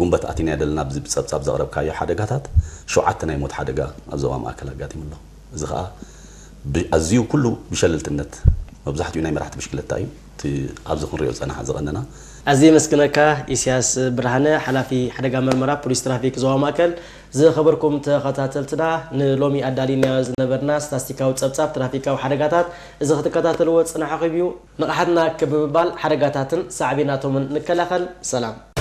ጉንበት ኣቲናዮ ዘለና ኣብዚ ብጸብጻብ ዘቕረብካዮ ሓደጋታት ሸውዓተ ናይ ሞት ሓደጋ ኣብ ዞባ ማእከል ኣጋጢሙ ኣሎ። እዚ ኸኣ ኣዝዩ ኩሉ ብሸለልትነት መብዛሕትኡ ናይ መራሕቲ ብሽክለታ እዩ እቲ ኣብዚ ክንሪኦ ዝጸናሓ ዝቐነና። ኣዝየ የመስግነካ። ኢሳያስ ብርሃነ፣ ሓላፊ ሓደጋ መርመራ ፖሊስ ትራፊክ ዞባ ማእከል። ዝኸበርኩም ተኸታተልትና፣ ንሎሚ ኣዳሊናዮ ዝነበርና ስታስቲካዊ ጸብጻብ ትራፊካዊ ሓደጋታት እዚ ክትከታተልዎ ዝጸናሕኹም እዩ። ንቕሓትና ክብ ብምባል ሓደጋታትን ሳዕቤናቶምን ንከላኸል። ሰላም።